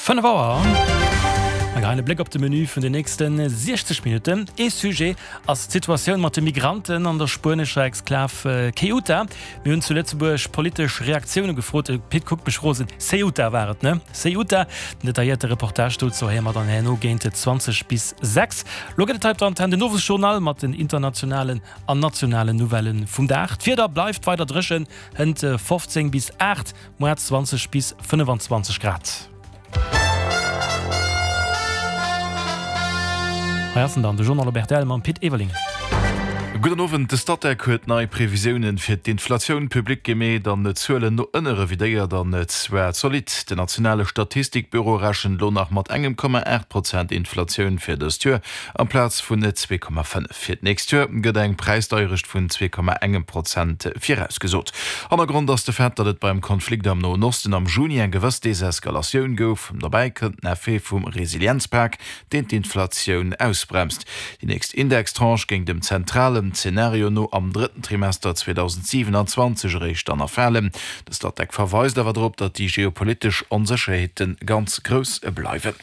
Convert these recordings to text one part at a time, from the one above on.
5 Auer. Mir geheien e Bléck op de Menü vun den nächste 60 Minutten. Ee Sujet ass d'Situatioun mat de Migranten an der spuenescher Exklav Ceuta. Mir hunn zu Lëtzebuerg politesch Reaktioune gefrot. De Pit kuckt mech rosen. Ceuta war et, ne? Ceuta. Den detailléierte Reportage dozou héiere mer dann herno géint 20 bis 6. Lo gëtt et hei op der Antenn den Owesjournal mat den internationalen an nationalen Nouvellë vum Dag. D'Wieder bleift weider dréchen, hënt 15 bis 8, moar 20 bis 25 Grad. Hei ass en dann, de Journal op rtl mam Pit Everling. Gudden Owend. De Statec huet nei Previsiounen fir d'Inflatioun public gemeet an d'Zuelen no ënne revidéiert, an zwar zolidd. Den nationale Statistikbüro rechent elo nach mat engem Komma 8 Prozent Inflatioun fir dëst Joer, amplaz vun 2,5. Fir d'nächst Joer gëtt eng Präisdeierecht vun 2,1 Prozent virausgesot. Hannergrond ass de Fait, datt et beim Konflikt am Noen Osten am Juni eng gewëss Deseskalatioun gouf. Dobäi kënnt den Effet vum Resilienzpak, deen d'Inflatioun ausbremst. Déi nächst Indextranche géing dem zentralen Zenario no am drëtten Trimester 2027 eréischt dann erfalen. De Statec verweist awer drop, datt déi geopolitesch Onsécherheete ganz grouss bleiwen.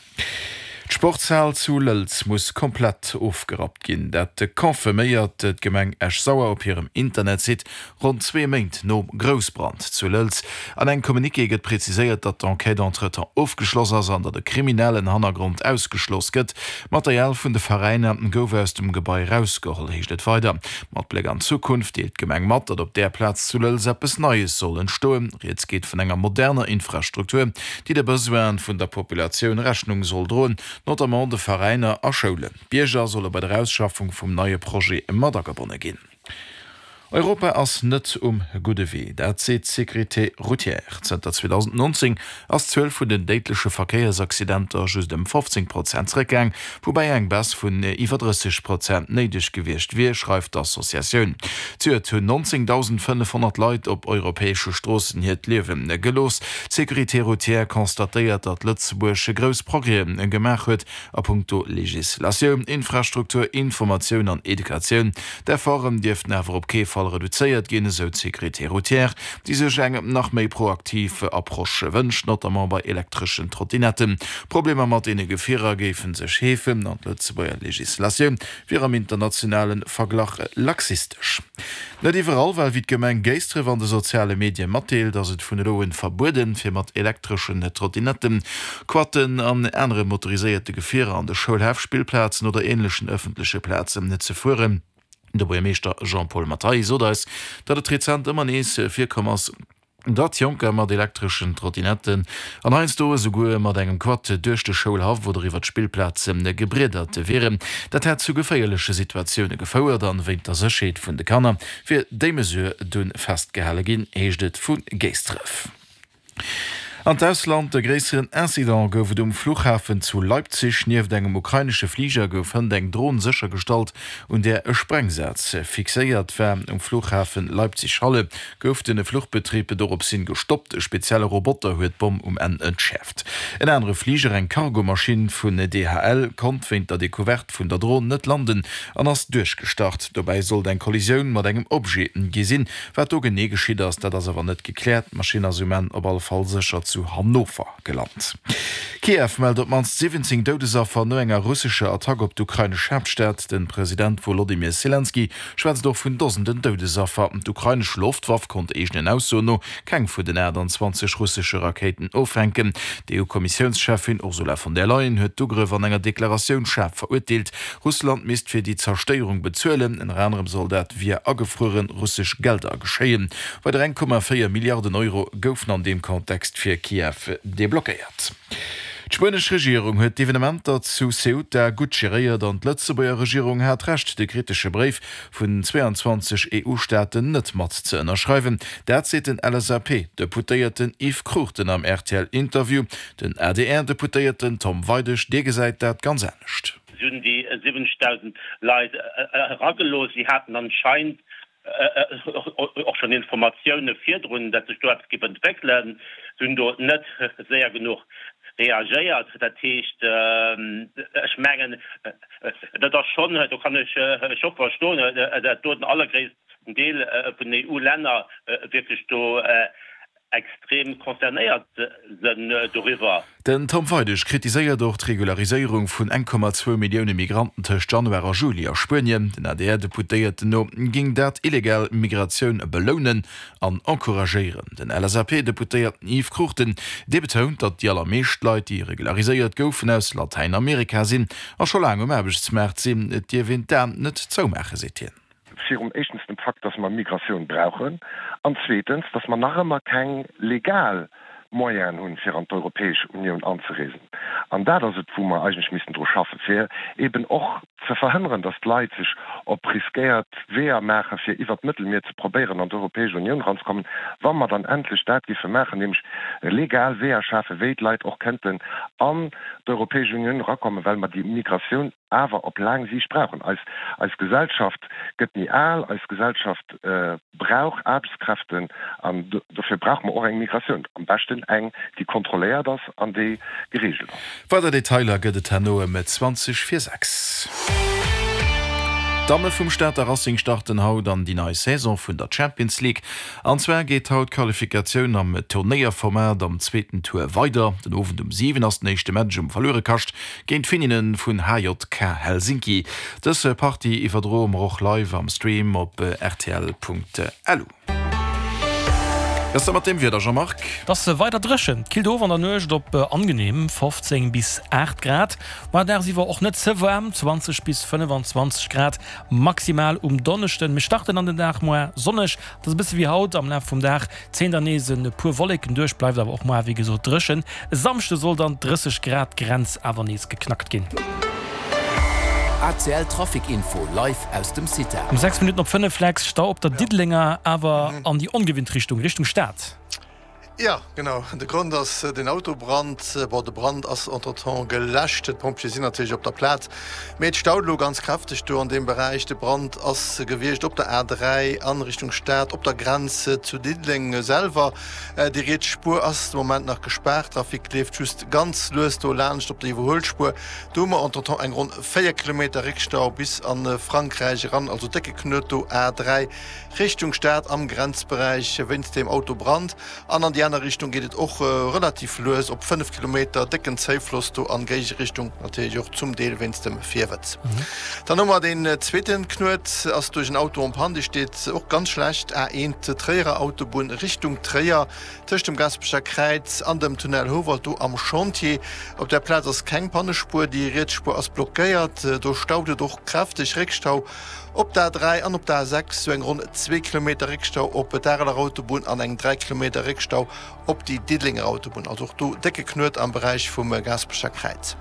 D'Sportshal zu Lëlz muss komplett ofgerappt ginn. Dat confirméiert d'Gemeng Esch-Sauer op hirem Internetsite, ronn zwee Méint nom Groussbrand zu Lëlz. An engem Communiqué gëtt preziséiert, datt d'Enquête entretemps ofgeschloss ass an datt e kriminellen Hannergrond ausgeschloss gëtt. Material vun de Veräiner gouf aus dem Gebai erausgeholl, heescht et weider. Mat Bléck an d'Zukunft deelt d'Gemeng mat, datt op där Plaz zu Lëlz eppes Neies soll entstoen. Rieds geet vun enger moderner Infrastruktur, déi de Besoine vun der Populatioun Rechnung soll droen, notamment de Veräiner a Schoulen. D'Bierger solle bei der Ausschaffung vum neie Projet mat agebonne ginn. Europa ass net um gudde Wee, dat seet d'Sécurité routière. Zënter 2019 ass d'Zuel vun den déidleche Verkéiersaccidenter just ëm 15 Prozent zeréckgaang, woubäi eng Baisse vun iwwer 30 Prozent néideg gewiescht wier, schreift d'Associatioun. Zejoert hunn 19.500 Leit op europäesche Stroossen hiert Liewe gelooss. D'Sécurité routière constatéiert, datt Lëtzebuerg grouss Progrèse gemaach huet a punkto Legislatioun, Infrastruktur, Informatioun an Educatioun. D'Efforten dierften awer op kee Fall reduzéiert ginn, esou d'Sécurité routière, déi sech eng nach méi proaktiv Approche wënscht, notamment bei elektreschen Trottinetten. Problemer mat deene Gefierer géife sech heefen an d'Lëtzebuerger Legislatioun wier am internationale Verglach laxistesch. Net iwwerall, well wéi d'Gemeng Géisdref an de soziale Medie matdeelt, ass et vun elo un verbueden, fir mat elektreschen Trottinetten, Quatten an anere motoriséierte Gefierer an de Schoulhäff, Spillplazen oder änlechen ëffentleche Plazen ze fueren. De Buergermeeschter Jean-Paul Mathay sot eis, datt et rezent ëmmer nees virkomm ass, datt Jonker mat elektreschen Trottinetten an heiansdo esouguer mat engem Quad duerch de Schoulhaff oder iwwer d'Spillplaze gebriedert wieren. Dat hätt zu geféierleche Situatioune gefouert an wéint der Sécherheet vun de Kanner wier déi Mesure dunn festgehale ginn, heescht et vu Géisdref. An d'Ausland, E gréisseren Incident gouf et um Fluchhafen zu Leipzig. Nieft engem ukrainesche Fliger gouf hënt eng Dron séchergestallt, un där e Sprengsaz fixéiert war. Um Fluchhafen Leipzig-Halle gouf den Fluchbetrib doropshin gestoppt. E spezielle Roboter huet d'Bomm um Enn entschäerft. En anere Fliger, eng Cargomaschinn vun DHL, konnt wéint der Decouverte vun der Dron net landen an ass duerchgestart. Dobäi sollt eng Kollisioun mat engem Objet gi sinn. Wat do genee geschitt ass, dat ass awer net gekläert. D'Maschinn ass um Enn op alle Fall sécher zu Hannover gelant. Kiew mellt op d'mannst 17 Doudesaffer no enger russescher Attack op d'ukrainesch Haaptstad. De President Wolodymyr Selenskyj schwätzt och vun Dosenden Doudesaffer. D'ukrainesch Loftwaff konnt eegenen Aussoen no keng vun den 28 russesche Rakéiten offänken. D'EU-Kommissiounscheffin Ursula von der Leyen huet d'Ugrëff an enger Deklaratioun schaarf verurteelt. Russland misst fir déi Zerstéierung bezuelen. Ënner anerem soll dat via agefruere russesch Gelder geschéien. Weider 1,4 Milliarden Euro goufen an deem Kontext fir Kiew deblockéiert. D'spuenesch Regierung huet d'Evenementer zu Ceuta gutt geréiert an d'Lëtzebuerger Regierung hat Recht, de kritesche Bréif vun 22 EU-Staaten net mat ze ënnerschreiwen. Dat seet den LSAP-Deputéierten Yves Cruchten am RTL-Interview. Den ADR-Deputéierten Tom Weidig, dee gesäit dat ganz anescht. Si hunn déi 70.000 Leit eragelooss. Si haten anscheinend och schonn Informatioune virdrun, datt sech do eppes géif entwéckelen. Si hunn do net séier genuch reagéiert. Dat heescht, ech mengen, dat ass schonn, do kann ech scho verstoen, datt do den allergréissten Deel vun den EU-Länner wierklech do. extrem concernéiert sënn doriwwer. Den Tom Weidig kritiséiert och d'Regulariséierung vun 1,2 Millioune Migranten tëscht Januar a Juli a Spuenien. Den ADR-Deputéierten no géing dat illegal Migratioun belounen an encouragéieren. Den LSAP-Deputéierten Yves Cruchten, dee betount, datt déi allermeescht Leit, déi regulariséiert goufen, aus Latäinamerika sinn a scho laang um Aarbechtsmaart sinn. Et dierf een d'Aen net zoumaachen, seet hien. Virum éischtens dem Fakt, dass mer Migratioun brauchen, an zweetens, dass mer nach ëmmer keng legal Moyenen hunn, fir an d'Europäesch Unioun anzereesen. An dat ass et, wou mer eigentlech missten dru schaffen, fir eeben och ze verhënneren, dass d'Leit sech op riskéiert Weeër maachen, fir iwwert d'Mëttelmier ze probéieren, an d'Europäesch Unioun eranzekommen. Wa mer dann endlech dat géife maachen, nämlech legal Weeër schafen, wéi d'Leit och kënnten an d'Europäesch Unioun erakommen, well mer déi Migratioun awer op laang Siicht brauchen. Eis, eis Gesellschaft gëtt méi al, eis Gesellschaft brauch Aarbechtskräften an dofir brauche mer och eng Migratioun, am beschten eng, déi kontrolléiert ass an déi gereegelt ass. Weider Detailer gëtt et herno ëm 20 vir 6. D'Damme vum Stater Racing starten haut an déi nei Saison vun der Champions League. An zwar geet haut d'Qualifikatioun am Turnéierformat am zweeten Tour weider. Den Owend um 7 ass den éischte Match um Verluerekascht Géint d'Finninnen vun HJK Helsinki. Dës Partie iwwerdroe mer och live am Stream op rtl.lu. Wéi ass dat mat dem Wieder, Jean-Marc? Et ass weider dréchen, et killt of an der Nuecht op angenehm 15 bis 8 Grad, ma dagsiwwer och net ze waarm, 20 bis 25 Grad maximal um Donneschden. Mir starten an den Dag moar sonneg, et ass e bësse wéi haut, am Laf vum Dag Zéien dann nees e puer Wolleken duerch, bleift awer och moar wéi gesot dréchen. E Samschde soll dann d'30 Grad Grenz awer nees geknackt ginn. ACL Trafic Info live aus dem CITA. Um 6 Minutten op 5 Lex, Stau op der Diddelenger, awer an déi ongewinnt Richtung, Richtung Stad. Jo, genau. De Grond ass den Autobrand. Bon, de Brand ass entretemps geläscht. D'Pompjeeë sinn natierlech op der Plaz. Mee et staut elo ganz kräfteg do an deem Beräich. De Brand ass gewiescht op der A3 an Richtung Stad, op der Grenz zu Diddeleng selwer. Déi riets Spuer ass de Moment nach gespaart. Trafic leeft just ganz lues do laanscht op der Iwwerhuelspuer. Do hu mer entretemps eng ronn 4 Kilometer Réckstau bis a Frankräich eran. Also décke Knuet do A3 Richtung Stad am Grenzberäich wéinst deem Autobrand. An an déi aner Richtung geet et och relativ lues op 5 Kilometer, décken Zéifloss do an Géigerichtung, natierlech och zum Deel wéinst dem Virwëtz. Dann hu mer deen zweeten Knuet, ass duerch en Auto en panne, dee steet och ganz schlecht, A1 Tréierer Autobunn Richtung Tréier, tëscht dem Gaasperecher Kräiz an dem Tunnel Houwald, do am Chantier. Op där Plaz ass keng Pannespuer, déi riets Spuer ass blockéiert, do staut et och kräfteg, Réckstau Op der A3 an op der A6 sou eng ronn zwee Kilometer Réckstau op d'Areler Autobunn an eng 3 Kilometer Réckstau op déi Diddelenger Autobunn. Also och do décke Knuet am Beräich vum Gaasperecher Kräiz.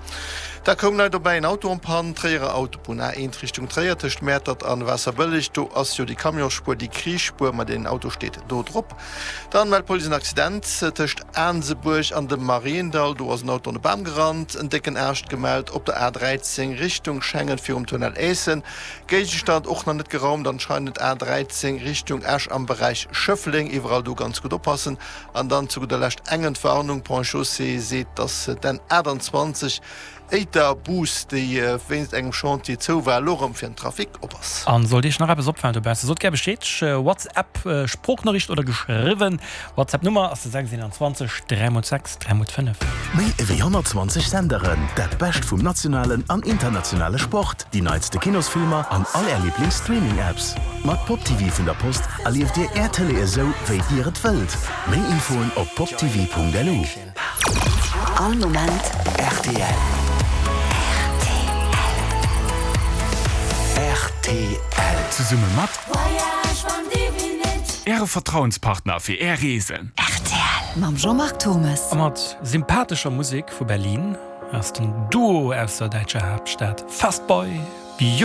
Da koum nei dobäi en Auto en panne, Tréierer Autobunn, A1 Richtung Tréier tëscht Mäertert an Waasserbëlleg. Do ass jo déi Camionsspuer, déi Krichspuer, ma deen Auto steet do drop. Dann mellt d'Police en Accident tëscht Aansebuerg an dem Mariendall. Do ass en Auto an e Bam gerannt. En décken Aascht gemellt op der A13 Richtung Schengen virum Tunnel Aessen. Géigestand och nach net geraumt anscheinend. A13 Richtung Esch am Beräich Schëffleng. Iwwerall do ganz gutt oppassen. An dann zu gudder Lescht eng Entwarnung, Ponts et Chaussées seet, dass d'N 28 Éiter Bus, déi wéinst engem Chantier zou war, elo erëm fir den Trafic op ass. An sollt Iech nach eppes opfalen dobaussen, sot gär Bescheed, WhatsApp, Sproochnoriicht oder geschriwwen. WhatsApp Nummer ass de 6 21 3 x 6 3 x 5. Méi ewéi 120 Senderen, dat Bescht vum nationalen an internationale Sport, déi neitste Kinosfilmer an all Är Liiblings-Streaming-Apps. Mat PopTV vun der Post erlieft Dir Är Tëlee esou, wéi Dir et wëllt. Méi Infoen op poptv.lu. All Moment rtl. Rtl. Zesumme mat Äre Vertrauenspartner fir Är Reesen. Rtl mam Jean-Marc Thommes. A mat sympathescher Musek vu Berlin ass den Duo aus der däitscher Haaptstad Fast Boy Beautiful.